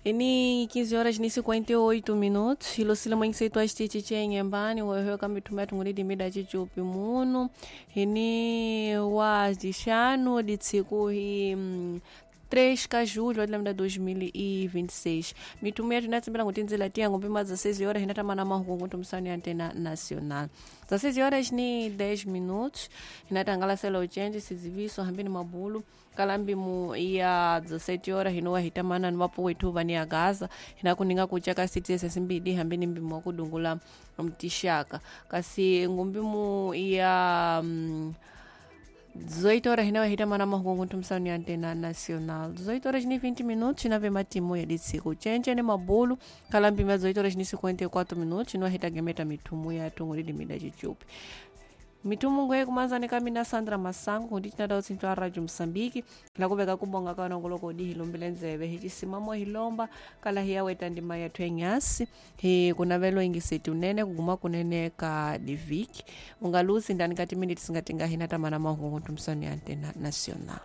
Ini 15 horas ni 58 minutos hilosile mwengisetu axitichi cenyembani wewe kamithuma yathu ngulidi mida cicupi munu hini wa dixanu ditsiku hi 3 ka julho de 2026. Mitumu yetu inatsembela kuti nzila tiyango mpima 16 horas inatamana mahungu tumisani ya antena nacional. 16 horas ni 10 minutos inatangalasela uchenji siziviso hambini mabulu kalambi mu ya 17 horas inowa hitamana ni vapu wetu vani ya gaza inakuninga kucha kasi tese simbidi hambini mbimu wa kudungula mtixaka kasi ngumbimu ya 18 horas inawahita mahungu ntumsani ya antena nacional. 18 horas ni 20 minutos inave matimu ya ditsiku chenche ni mabulu kalambima 18 horas ni 54 minutos inawahita gemeta mitumu ya tungu lidi mida chichupi mitumu ngwe kumanzani kamina Sandra Masango kundi cinada utsintu a Radio Moçambique lakuveka kubonga kanongoloko di hilumbile nzeve hichisimamo hilomba kala hiyaweta ndima yathu enyasi hi kunavelo ingiseti unene kuguma kunene ka diviki ungalusi ndani kati miniti singatinga hina tamana mahungu tumsoni ya antena nacional.